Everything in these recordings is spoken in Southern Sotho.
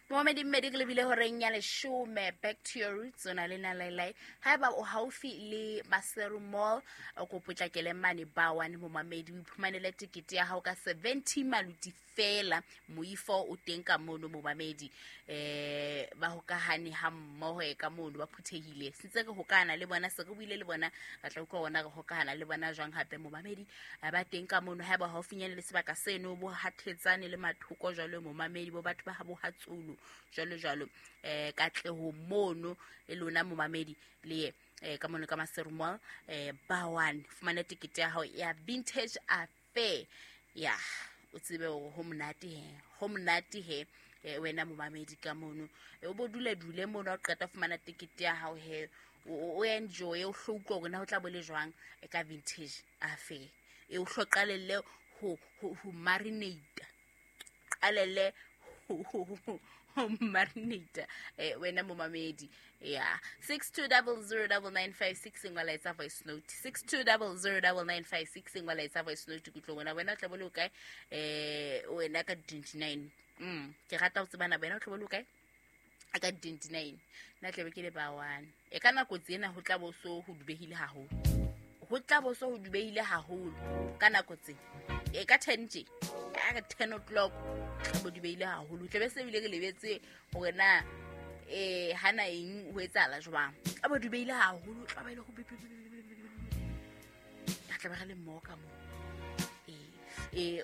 Momamedi mmedi, ke lebile horeng ya 10. Back to your roots, o na le nalailai. Haeba o haufi le Maseru Mall, o ko potlakele mane ba one, momamedi, o iphumanele tekete ya hao ka 70 maluti fela. Moifo o teng ka mono, momamedi, ba hokahane ha mmoho e ka mono, ba phuthehile. Sentse re hokahana le bona, se re buile le bona, re tla utlwa bona re hokahana le bona jwang hape, momamedi. Ba teng ka mono. Haeba haufinyane le sebaka seno, bo hathetsane le mathoko jwalo, momamedi, bo batho ba ha bo hatsolo jwalo jwalo, katleho mono le lona, momamedi, le ye ka mono ka Maseru Mall, ba one, fumane tekete ya hao ya Vintage Affair. Ya o tsebe hore ho monate he, ho monate he. Wena momamedi ka mono, o bo dule dule mono, ha o qeta fumana tekete ya hao he, o enjoy, o hlo utlwa hore na ho tla bo le jwang ka Vintage Affair. E o hlo qalelle ho marinate, qalelle ho marinate, wena momamedi. Ya 62009956, ngwala, etsa voice note, 62009956, ngwala, etsa voice note, kutlwe wena, wena o tla bo le o kae, wena ka 29. Ke rata ho tsebana, wena o tla bo le o kae ka 29. Nna tlabe ke le ba one. E ka nako tsena ho tla bo so ho dubehile haholo, ho tla bo so ho dubehile haholo ka nako tse e ka 10 tje, a re 10 o'clock tla bo dubehile haholo, tlabe se bile re lebetse hore na hana eng ho etsahala jwang. Tla bo dubehile haholo, tla ba ile ho re tla be re le mmoho ka moo.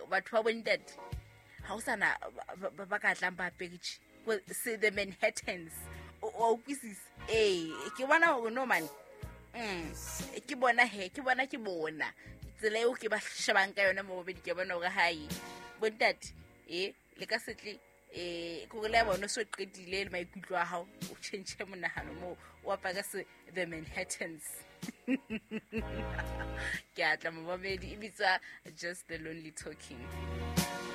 Batho ba bontate ha o sana ba ka tlang ba apere tje se the Manhattans, o utlwisisa? Ee, ke bona hore no man, ke bona he, ke bona, ke bona tsela eo ke ba shebang ka yona mo bobedi. Ke bona hore hae bontate le ka setle kore le ya bona o so qetile le maikutlo a hao, o change monahano moo, o apare se the Manhattans. Ke atla, momamedi, e bitswa Just the Lonely Talking.